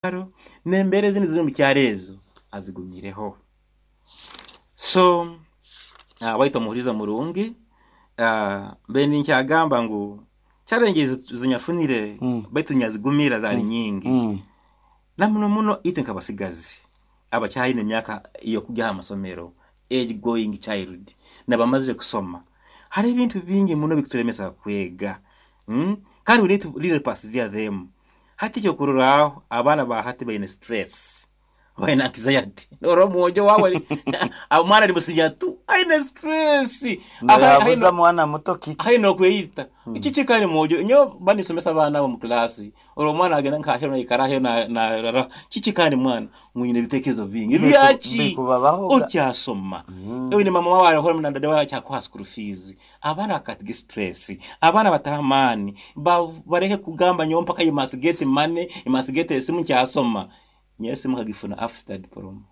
Kyaro n'embeera ezindi eziri omu kyaro ezo azigumireho. So waitu omuhuriza murungi, mbaire ninkyagamba ngu challenge ezi nyafunire baitu nyazigumira zaali nyingi. Na muno muno itwe nk'abasigazi abakyaine emyaka ey'okugya aha masomero, age going child, n'abamazire kusoma, hariho ebintu bingi muno ebikuturemesa kwega kandi we need to really persevere them. Hati ekyokurorraho abaana ba hati baine stress, baine anxiety. Norora omwojo wawe omwana ari musinya tu aine stress. Noyabuza mwana muto kiki? Aine okweyita. Kiki kandi mwojo? Nyowe mba ninsomesa abaana abo omu class, orora omwana agenda nka aheru naikara aheru narara. Kiki kandi mwana? Ngu nyine ebitekerezo bingi. Byaki? Bikubabaho ga. Okyasoma. Oine mama wawe ariho na dada wawe akyakuha school fees. Abaana bakatiga stress, abaana bataho amaani, bareke kugamba nyowe mpaka you must get money, you must get esimu nkyasoma. Nyowe esimu nkagifuna after diploma.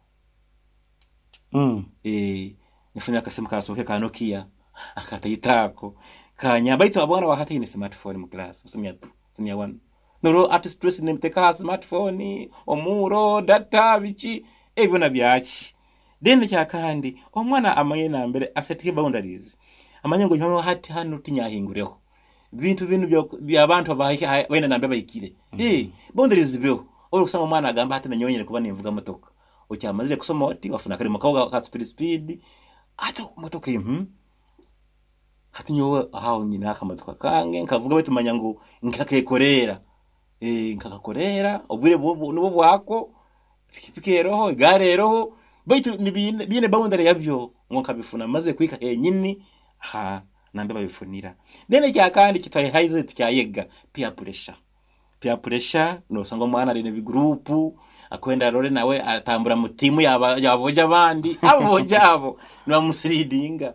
Eeh nafuna akasimu kasoke ka Nokia akataito ako kanyamba baitu omwana wa hati aine smartphone mu class mu senior two, senior one. Norora ati stress nemuteka aha smartphone, omuuro, data biki, ebyo byona byaki? Then ekyakandi, omwana amanye nambere asetinge boundaries, amanye ngu nyowe hati hanu tinyahingureho. Bintu binu by'abantu abaine nambere bahikire. Eh, boundaries zibeho. Obu orikusanga omwana agamba hati nanyowe nyine kuba ninvuga motoka. Okyamazire kusoma oti, wafuna akarimo kawe ka speed speed, hati motoka hmm, hati nyowe aho nyine akamotoka kange nkavuga baitu manya ngu nkakekoreera. Eh, nkakakoreera, obwire nibwo bwako. Pikipiki eroho, egaari eroho, baitu biine boundary yabyo ngu nkabifuna maze kuhika henyini aha nambere babifunira. Then ekyakandi ekitwahaize tukyayega peer pressure. Peer pressure nosanga omwana ari nebigurupu akwenda arore nawe atambura mu tiimu y'aboojo abandi, aboojo abo nibamusiridinga.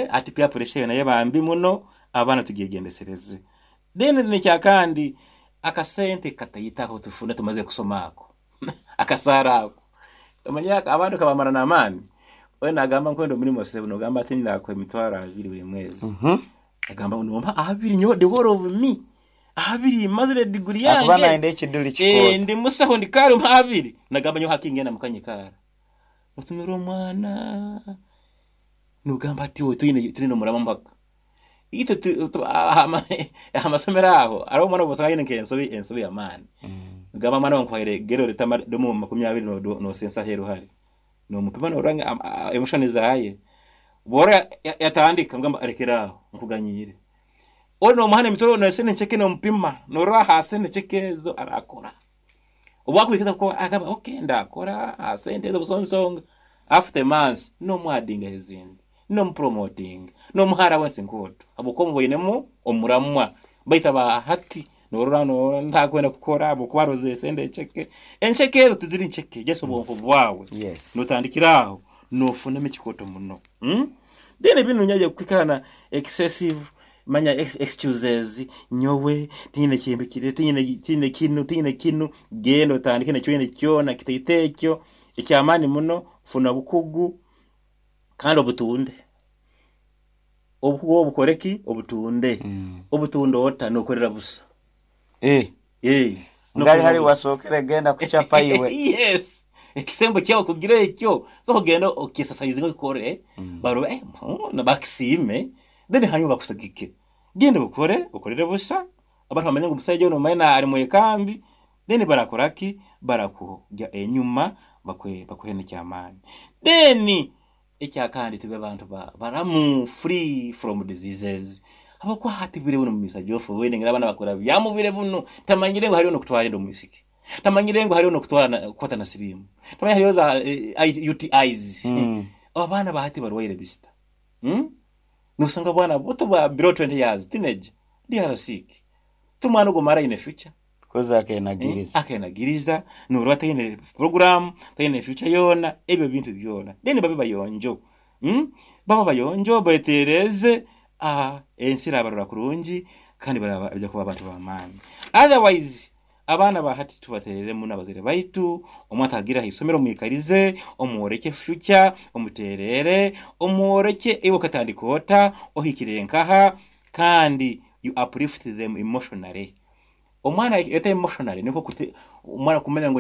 Hati peer pressure eyo nayo eba mbi muno, abaana tugyegyendesereze. Then n'ekyakandi akasente kataito aku tufuna tumazire kusoma ako, akasaara ako, omanyire abandi kabamara n'amaani, we nagamba nkwenda omurimo sebo nogamba ati ndakuha emitwaro abiri buri mwezi, agamba ngu nompa abiri nyowe the whole of me, abiri mazire degree Akuba yange, nayenda ekiduri kikooto. ndi musaho ndi kaara ompa abiri, nagamba nyowe hati ngenda muka nyikaara, otunura omwana nogamba ati iwe toine omurama mpaka. Itwe aha masomero aho hariho omwana obu osanga aine nk'ensobi ensobi y'amaani. Nigamba omwana wawe nkuhaire gera oreete domu 20 noosensa aheeru hari. Noomupima noorora ngu emotion zaaye. Bworora yatandika nomugamba rekera aho nkuganyiire. Ori noomuha n'emitwaro n'esente nkye noomupima noorora aha sente nkye ezo arakora. Obu akwikiriza kukora agamba okay ndakora aha sente ezo buso nsonga. After months nomuadingaho ezindi, nomupromotinga, nomuha allowance nkooto ahabw'okuba omuboinemu omuramwa. Baitu aba hati norora norora ntakwenda kukora ahabw'okuba arozire esente enceke. Enceke ezo tiziri nceke just obwonko bwawe Yes. notandikira aho nofunamu ekikooto muno. Then binu nyaija kwikara na excessive Manya excuses, nyowe tinyine kintu kiri, tinyine tinyine kinu, tinyine kinu, genda otandike nekyo oyine kyona kitaito ekyo eky'amaani muno, funa obukugu kandi obutunde. Obukugu obu obukore ki? Obutunde. Obutunde ota? Nokorera busa. Eh. Eh, Ngali nokorera hari busa. wasookere genda kuchapa iwe. Yes. Ekisembo kyawe kugira ekyo, so kugenda okyesasayizinge okikore, barole eh, bakisiime, Then hanyuma bakusagike. Genda okore, okorere busha, abantu bamanye ngu omusaija onu omanye ari mwekambi, then barakora ki? Barakugya enyuma bakuhe bakuhe n'eky'amaani. Then ekyakandi tube bantu ba baramu, free from diseases. Habw'okuba hati bwire bunu Mister Geoffrey obu abaana bakura byamu bwire bunu, tamanyire ngu hariyo n'okutwara enda omwisiki, tamanyire ngu hariyo n'okutwara na kukwata na siriimu, tamanyire hariyo za UTIs. Abaana ba hati barwaire bisita. Nosanga obwana buto bwa below 20 years teenage they are sick. Ti omwana ogwo mara aine future. Because akenagiriza. Akenagiriza noreba taine program, taine future yoona, ebyo bintu byona. Then babe bayonjo. Babe bayonjo betereze ensi erabarora kurungi kandi baraija kuba abantu b'amaani. Otherwise Abaana ba hati tubateerere muno abazaire baitu, omwana atagire aha isomero omwikarize, omworeke future, omuteerere, omworeke iwe okatandika ota, ohikire nkaha, kandi you uplift them emotionally. Omwana eta emotionally, nikwo kuti omwana kumanya ngu.